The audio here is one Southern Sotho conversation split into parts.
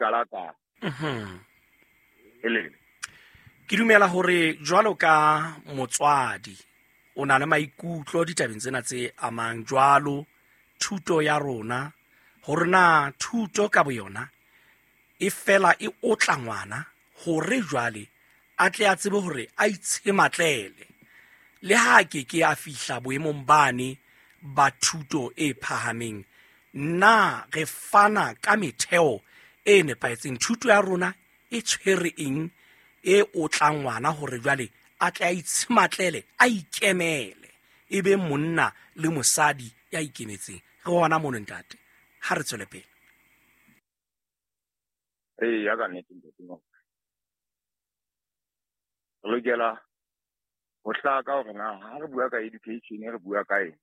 qala kae. Elele. Ke dumela hore jwalo ka motswadi o na le maikutlo ditabeng tsena tse amang jwalo thuto ya rona, hore na thuto ka boyona e fela e otla ngwana hore jwale a tle a tsebe hore a itshematlele le ha a ke ke a fihla boemong bane ba thuto e phahameng. Na re fana ka metheo e nepahetseng? Thuto ya rona e tshwere eng e otlang ngwana hore jwale a tle a itshematlele, a ikemele, e be monna le mosadi ya ikemetseng? Re hona mono, ntate, ha re tswele pele. Ee, ya ka nnete, ntate Ngoko. Re lokela ho hlaka hore na ha re bua ka education re bua ka eng,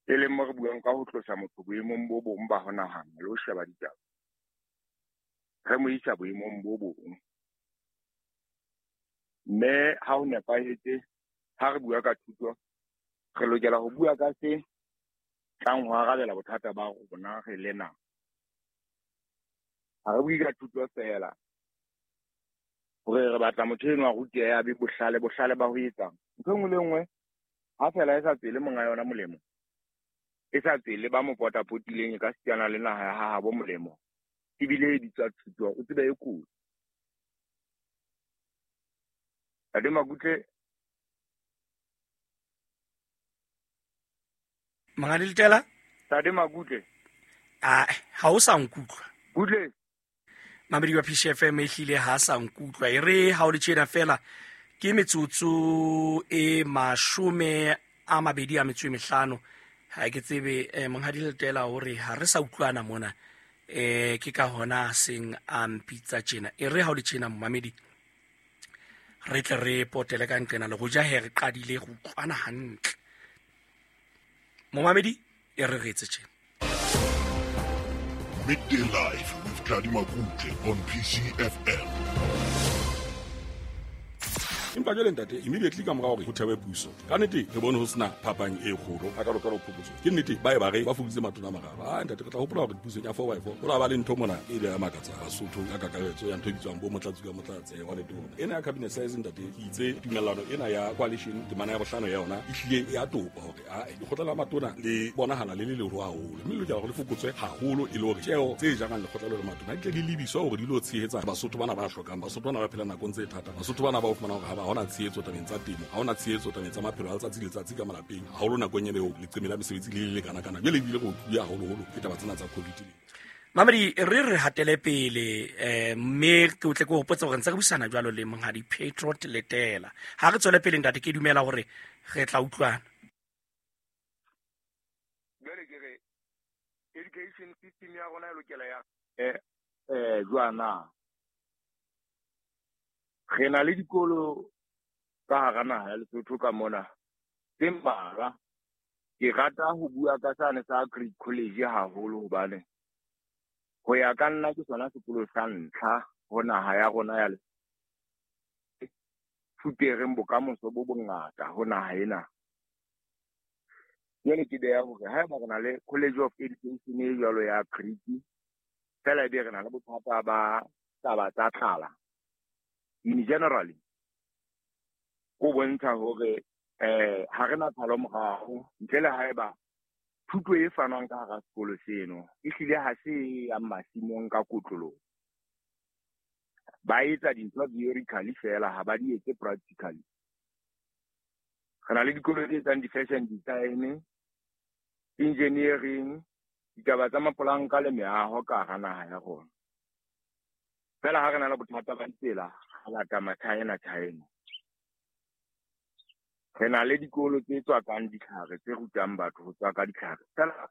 e leng mo re buang ka ho tlosa motho boemong bo bong ba ho nahana le ho sheba ditaba, re mo isa boemong bo bong. Mme ha ho nepahetse, ha re bua ka thuto, re lokela ho bua ka se tlang ho arabela bothata ba rona re le naha. Ha re bue ka thuto feela hore re batla motho eno a rutehe, a be bohlale, bohlale ba ho etsang ntho e nngwe le nngwe, ha feela e sa tswele monga yona molemo, e sa tswele ba mo potapotileng, e ka sitana le naha ya habo molemo, ebile e bitswa thuto, o tsebe e kotsi. Ntate Makutle. Monghadi Letela? Ntate Makutle. Ah, ha o sa nkutlwa. Kutle. Mamedi wa PCFM e hlile ha sa nkutlwa. E re ha o le tjena fela ke metsotso e 25. Ha ke tsebe monghadi Letela hore ha re sa utlwana mona. Ke ka hona seng a mpitsa tjena. E re ha o le tjena momamedi, re tle re potele ka nqena le hoja he re qadile go utlwana hantle. Momamedi, e re re etse tjena. Midday Life with Tladi Makutle on PCFM. Empa jwale ntate, immediately ka mora hore ho thewe puso, ka nnete re bone ho sena phapang e kgolo a ka lokela ho phokotso. Ke nnete ba e ba re ba fokoditse matona a mararo. Ah, ntate, re tla hopola hore pusong ya four by four ho la ba le ntho mona e ile ya makatsa Basotho ka kakaretso ya ntho e bitswang bo motlatsi ka motlatse wa letona. Ena ya cabinet size, ntate, ke itse tumellano ena ya coalition temana ya bohlano ya yona e hlile ya topa hore a lekgotla la matona le bonahala le le leholo haholo, mme le lokela hore le fokotswe haholo e le hore tjeo tse jarang lekgotla le matona di tle di lebiswa hore di lo tshehetsa Basotho bana ba hlokang, Basotho bana ba phelang nakong tse thata, Basotho bana ba o fumana hore ha ba hona tshehetso tabeng tsa temo, ha hona tshehetso tabeng tsa maphelo a letsatsi le letsatsi ka malapeng, haholo nakong ena eo leqeme la mesebetsi le le lekana kana. Jwale ebile re otluwe haholoholo ke taba tsena tsa COVID. Mamedi, re re hatele pele, mme ke o tle ke hopotse hore ntse re buisana jwalo le monghadi Patriot Letela. Ha re tswele pele ntate, ke dumela hore re tla utlwana. Jwale ke re education system ya rona e lokela ya jwana. Re na le dikolo ka hara naha ya Lesotho ka mona tse mmalwa. Ke rata ho bua ka sane sa Agri College haholo hobane ho ya ka nna ke sona sekolo sa ntlha ho naha ya rona ya fupereng bokamoso bo bongata ho naha ena. Jwale ke beha hore haeba re na le College of Education e jwalo ya Agri, fela ebe re na le bothata ba taba tsa tlala in generally, ho bontsha hore ha re na tshalo morao, ntle le haeba thuto e fanwang ka hara sekolo seno e hlile ha se ya masimong ka kotloloho. Ba etsa dintho theoretically fela, ha ba di etse practically. Re na le dikolo tse etsang di-fashion design, engineering, ditaba tsa mapolanka le meaho ka hara naha ya rona. Fela ha re na le bothata ba ditsela, ha lata Machina China. Re na le dikolo tse tswakang ditlhare, tse rutang batho ho tswaka ditlhare. Fela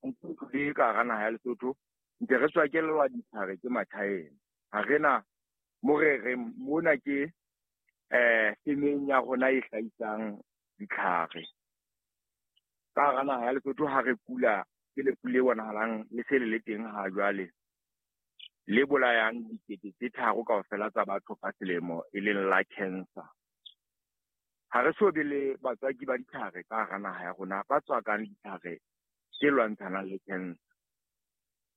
ntho le ka hara naha ya Lesotho, ntse re tswakelwa ditlhare ke Machina. Ha re na mo re reng mona ke femeng ya rona e hlahisang ditlhare. Ka hara naha ya Lesotho ha re kula ke lefu le bonahalang le se le le teng ha jwale, le bolayang 3 000 kaofela tsa batho ka selemo, e leng la cancer. Ha re so be le batswaki ba ditlhare ka hara naha ya rona ba tswakang ditlhare tse lwantshanang le cancer.